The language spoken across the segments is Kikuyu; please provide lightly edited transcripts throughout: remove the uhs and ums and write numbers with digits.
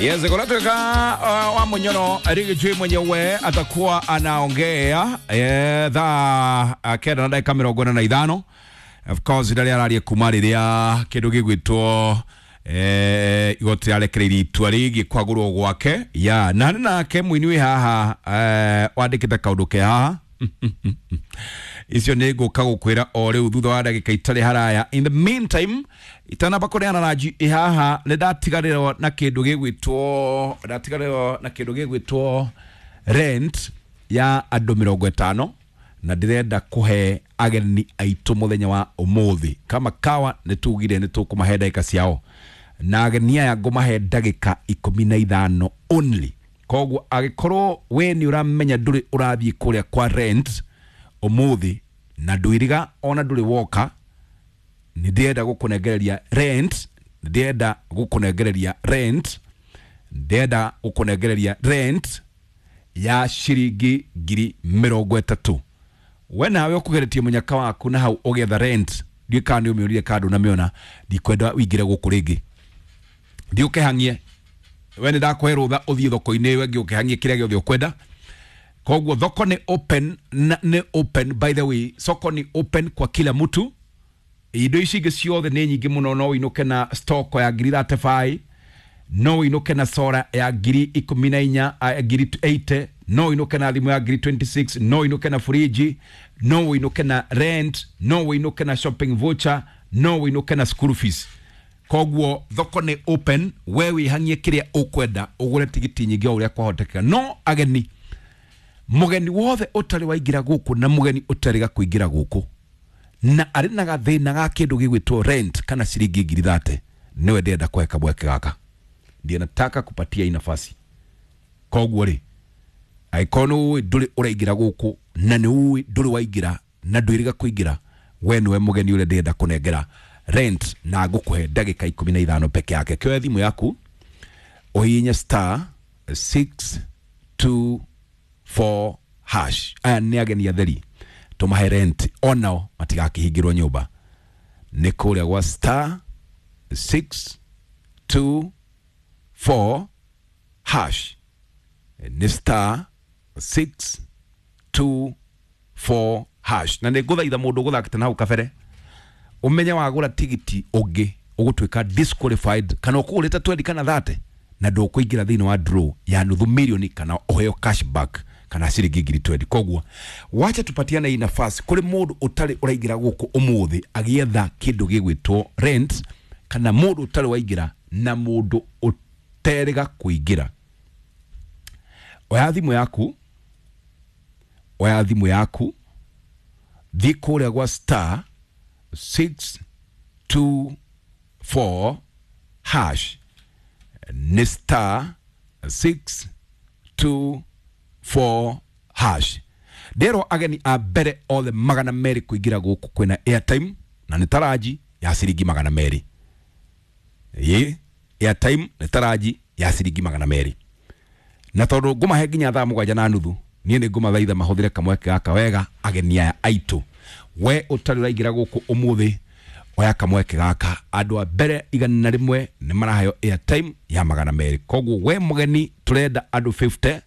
Yes, kunatoka wa Munyoro Riggy mwenyewe atakuwa anaongea thaa 9 na ndagĩka 45. Of course rĩrĩa araria kuma rĩrĩa kĩndũ gĩgwĩtwo igoti rĩarekereirie itua rĩgiĩ kwagũrwo gwake ya na nĩ nake mũini wĩ haha wandĩkĩte kaũndũ ke haha. Icio nĩ ngũka gũkwĩra o rĩu thutha wa ndagĩka itarĩ haraya. In the meantime, itanamba kũneana ranji ĩ haha, nĩ ndatiganĩrwo na kĩndũ gĩgwĩtwo, ndatiganĩrwo na kĩndũ gĩgwĩtwo rent ya andũ 50, na ndĩrenda kũhe ageni aitũ mũthenya wa ũmũthĩ. Kama kawa nĩ tugire nĩ tũkũmahe ndagĩka ciao, na ageni aya ngũmahe ndagĩka 15 only. Koguo angĩkorwo we nĩ ũramenya ndũrĩ ũrathiĩ kũrĩa kwa rent ũmũthĩ na ndwĩriga ona ndũrĩ woka, nĩ ndĩrenda gũkũnengereria rent, nĩ ndĩrenda gũkũnengereria rent, ndĩrenda gũkũnengereria rent ya ciringi 30,000. We nawe ũkũgeretie mũnyaka waku na hau ũgĩetha rent, ndiũĩ kana nĩ ũmĩũrire kana ndũnamĩona. Ndikwenda ũingĩre gũkũ rĩngĩ, thiĩ ũkehang'ie. We nĩ ndakũhe rũtha ũthiĩ thoko-inĩ ĩyo ĩngĩ ũkehang'ie kĩrĩa gĩothe ũkwenda. Koguo thoko nĩ open na, nĩ open, by the way, soko ni open kwa kila mtu. Indo ici ingĩ ciothe nĩ nyingĩ mũno. No ũinũke na stock ya ngiri 35, no ũinũke na sora ya 14,000, 80,000, no ũinũke na thimũ ya ngiri 26, no ũinũke na furiji, no ũinũke na rent, no ũinũke na shopping voucher, no ũinũke na school fees. Koguo thoko nĩ open, we wĩhang'ie kĩrĩa ũkwenda, ũgũre tigiti nyingĩ o ũrĩa kwahotekeka. No ageni, mũgeni wothe ũtarĩ waingĩra gũkũ na mũgeni ũtarĩ kũingĩra gũkũ na arĩ na gathĩna ga kĩndũ gĩgwĩtwo rent kana ciringi 30,000, nĩwe ndĩrenda kũhe kamweke gaka, ndiye nataka kupatia hii nafasi. Koguo rĩ, angĩkorwo nĩ ũĩ ndũrĩ ũraingĩra gũkũ na nĩ ũĩ ndũrĩ waingĩra na ndwĩrĩga kũingĩra, we nĩwe mũgeni ũrĩa ndĩrenda kũnengera rent, na ngũkũhe ndagĩka 15 peke yake. Kĩoya thimũ yaku ũhihinye star 624 hash. Aya nĩ ageni atheri, tũmahe rent onao matigakĩhingĩrwo nyũmba. Nĩ kũrĩa gwa star 624 hash, nĩ star 624 hash. Na nĩ ngũthaitha mũndũ ũgũthakĩte na hau kabere, ũmenye wagũra tigiti ũngĩ ũgũtuĩka disqualified, kana ũkũgũrĩte 20 kana 30 na ndũkũingĩra thĩinĩ wa draw ya nuthu milioni kana ũheo cashback kana ciringi 20,000. Koguo wacha tupatiane hii nafasi kũrĩ mũndũ ũtarĩ ũraingĩra gũkũ ũmũthĩ agĩetha kĩndũ gĩgwĩtwo rent, kana mũndũ ũtarĩ waingĩra na mũndũ ũterĩga kũingĩra. Oya thimũ yaku, oya thimũ yaku, thiĩ kũrĩa gwa star 624 hash, nĩ star 624 hash. Nderwo ageni a mbere othe 200 kũingĩra gũkũ kwĩna airtime, na nĩ taraji ya ciringi 200. Ĩ airtime nĩ taraji ya ciringi 200, na tondũ ngũmahe nginya thaa 7:30, niĩ nĩ ngũmathaitha mahũthĩre kamweke gaka wega. Ageni aya aitũ, we ũtarĩ ũraingĩra gũkũ ũmũthĩ, oya kamweke gaka. Andũ a mbere 101 nĩ maraheo airtime ya 200. Koguo we mũgeni, tũrenda andũ 50,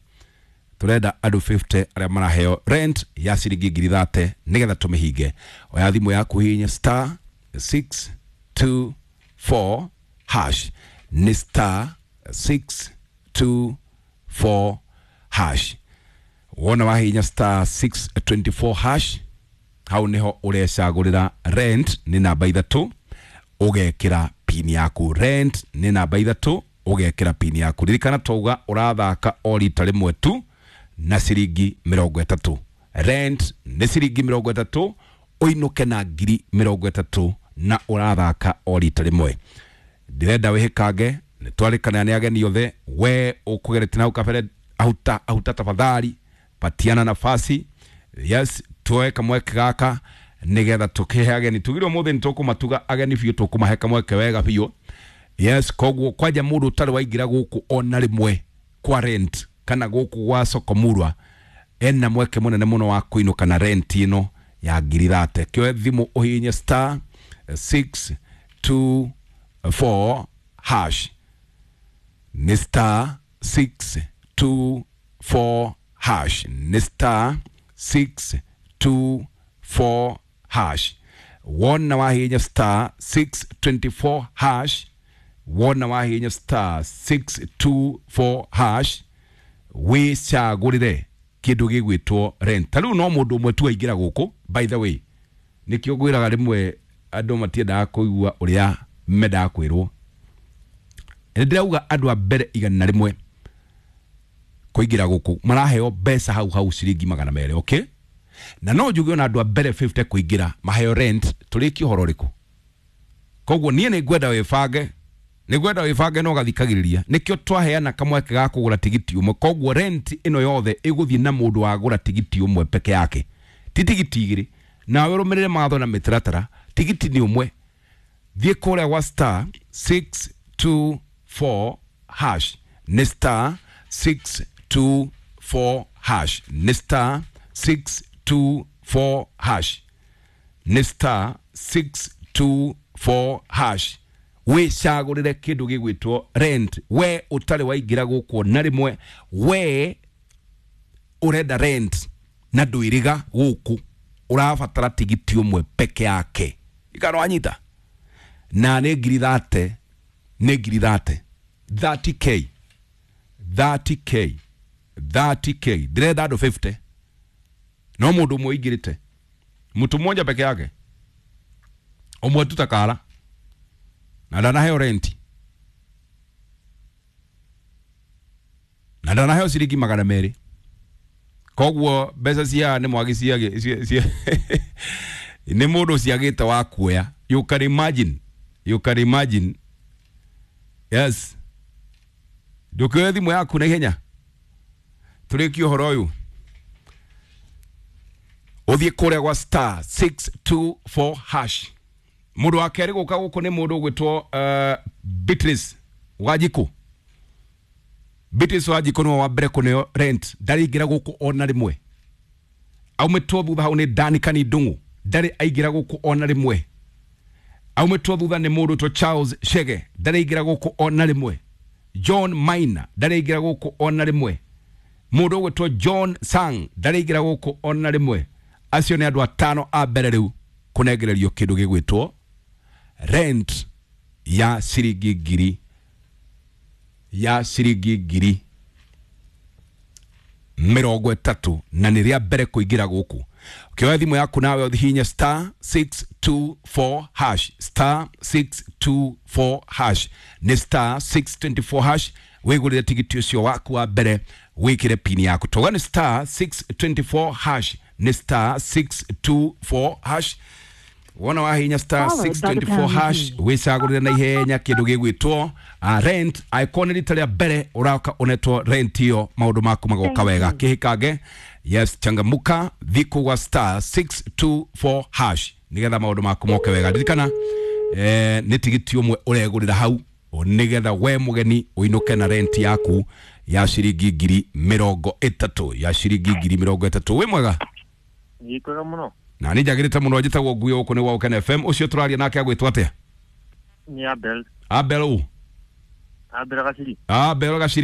tũrenda andũ 50 arĩa maraheo rent ya ciringi 30,000 nĩgetha tũmĩhinge. Oya thimũ yaku, hihinya star 624 hash, nĩ star 624 hash. Wona wahihinya star 624 hash, hau niho ũrecagũrĩra rent nĩ namba 3, ũgekĩra pin yaku. Rent nĩ namba 3, ũgekĩra pin yaku. Ririkana twauga ũrathaka o rita rĩmwe tu na ciringi 30. Rent nĩ ciringi 30, ũinũke na 30,000, na ũrathaka o rita rĩmwe. Ndĩrenda wĩhĩkange, nĩ twarĩkana nĩ ageni othe. We ũkũgeretie na hau kabere, ahuta ahuta, tafadhali patiana nafasi. Yes, tuoe kamweke gaka nigetha tukihe ageni. Tugire umuthi nĩ tũkũmatuga ageni biũ, tũkũmahe kamweke wega biũ. Yes, koguo kwanja mũndũ ũtarĩ waingĩra gũkũ ona rĩmwe kwa rent kana gũkũ gwa soko murwa, ena mweke mũnene mũno wa kũinũka na rent ĩno ya 30,000. Kĩoe thimũ ũhihinye star 624 hash. Nĩ star 624 hash, nĩ star 624 hash. Wona wahihinya star 624 hash, wona wahihinya star 624 hash, wĩcagũrĩre kĩndũ gĩgwĩtwo rent. Ta rĩu no mũndũ ũmwe tu aingĩra gũkũ, by the way, nĩkĩo ngwĩraga rĩmwe andũ matiendaga kũigua ũrĩa mendaga kwĩrwo. Nĩ ndĩrauga andũ a mbere 100 kũingĩra gũkũ maraheo mbeca hau hau ciringi 200, okay? Na no njuge ona andũ a mbere 50 kũingĩra maheo rent, tũrĩkie ũhoro ũrĩkũ? Koguo niĩ nĩ ngwenda wĩbange, nĩ ngwenda wĩbange na ũgathikagĩrĩria. Nĩkĩo twaheana kamweke ga kũgũra tigiti ũmwe. Koguo rent ĩno yothe ĩgũthiĩ na mũndũ wagũra tigiti ũmwe peke yake, ti tigiti igĩrĩ. Nawe ũrũmĩrĩre mawatho na mĩtaratara, tigiti nĩ ũmwe. Thiĩ kũrĩa gwa star 624 hash, nĩ star 624 hash, nĩ star 624 hash, nĩ star 624 hash. Wĩcagũrĩre kĩndũ gĩgwĩtwo rent. We ũtarĩ waingĩra gũkũ na rĩmwe, we ũrenda rent na ndwĩrĩga gũkũ, ũrabatara tigiti ũmwe peke yake. Ikano wanyita na nĩ ngiri 30, nĩ ngiri 30, 30K, 30K, 30K. Ndĩrenda andũ 50, no mũndũ ũmwe ũingĩrĩte, mtu mmoja peke yake, ũmwe tu takara na ndanaheo renti na ndanaheo ciringi 200. Koguo mbeca cia nĩ mwagi cia nĩ mũndũ ciagĩte wa kuoya. You can imagine, you can imagine. Yes, ndũkĩoe thimũ yaku na ihenya tũrĩkie ũhoro ũyũ, ũthiĩ kũrĩa gwa star 624 hash. Mũndũ wa kerĩ gũka gũkũ nĩ mũndũ ũgwĩtwo Beatrice Wanjikũ. Beatrice Wanjikũ nĩwe wa mbere kũneo rent, ndarĩ aingĩra gũkũ ona rĩmwe. Aumĩtwo thutha hau nĩ Danica Ndung'u, ndarĩ aingĩra gũkũ ona rĩmwe. Aumĩtwo thutha nĩ mũndũ ũgwĩtwo Charles Chege, ndarĩ aingĩra gũkũ ona rĩmwe. John Maina ndarĩ aingĩra gũkũ ona rĩmwe. Mũndũ ũgwĩtwo John Sang ndarĩ aingĩra gũkũ ona rĩmwe. Acio nĩ andũ atano a mbere rĩu kũnengererio kĩndũ gĩgwĩtwo rent ya ciringi ngiri, ya ciringi 30,000, na nĩ rĩa mbere kũingĩra gũkũ. Ũkĩoya thimũ yaku nawe ũhihinye star 624 hash, star 624 hash, nĩ star 624 hash, wĩgũrĩre tigiti ũcio waku wa mbere, wĩkĩre pini yaku. Toga nĩ star 624 hash, nĩ star 624 hash. Wona wahinya star 624 hash, wĩcagũrĩre na ihenya kĩndũ gĩgwĩtwo rent. Angĩkorwo nĩ rita rĩa mbere ũroka ũnetwo rent ĩyo, maũndũ maku magoka wega. Kĩhĩkange, yes, changamuka, thiĩ kũu gwa star 624 hash nĩgetha maũndũ maku moke wega. Ririkana nĩ tigiti ũmwe ũregũrĩra hau nĩgetha we mũgeni ũinũke na rent yaku ya ciringi 30,000, ya ciringi 30,000. Wĩ mwega? Nĩ kwega mũno. Na nĩ njagĩrĩte mũno. Njĩtagwo Ngui, gũkũ nĩ gwa Ũkene FM. Ũcio tũraria nake agwĩtwo atĩa? Nĩ Abel. Abel ũ? Abel Gaciri. Abel Gaciri.